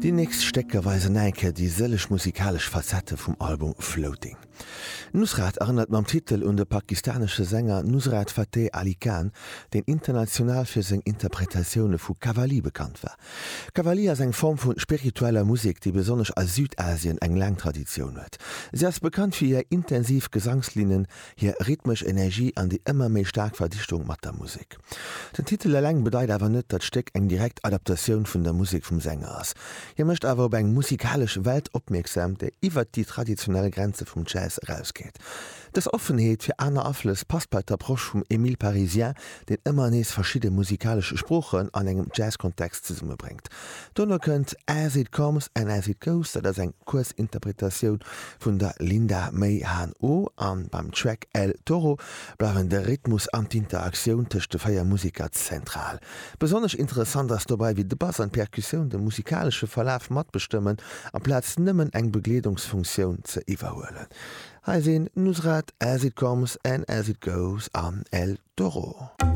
Déi nächst Stécker weisen nach eng Kéier déi sëlleg musikalesch Facette vum Album Floating. Nusrat erënnert mam Titel un de pakistanesche Sänger Nusrat Fateh Ali Khan, deen international fir seng Interpretatioune vu Qawwali bekannt war. Qawwali ass eng Form vu spiritueller Musek, déi besonnesch a Südasien eng laang Traditioun huet. Si ass bekannt fir hir intensiv Gesangslinnen, hir rhythmesch Energie an déi ëmmer méi staark Verdichtung mat der Musek. Den Titel eleng bedeit awer net, datt d'Stéck eng direkt Adaptatioun vun der Musek vum Sänger ass. Hie mécht awer op eng musikalesch Welt opmierksam, déi iwwert déi traditionell Grenze vum Jazz erausgeet. Dës Offenheet fir aner Aflëss passt bei d'Approche vum Émile Parisien, deen ëmmer nees verschidde musikalesch Sproochen an engem Jazz-Kontext zesummebréngt. Dono kënnt As It Comes and As It Goes, dat ass eng kuerz Interpretatioun vun der Linda May Han Oh, an beim Track El Toro bleiwen de Rhythmus an d'Interaktioun tëscht de 4 Museker zentral. Besonnesch interessant ass dobei, wéi de Bass an d'Perkussioun de musikalesche Verlaf matbestëmmen, amplaz nëmmen eng Begleedungsfunktioun ze iwwerhuelen. Hei sinn Nusrat, As It Comes and As It Goes an El Toro.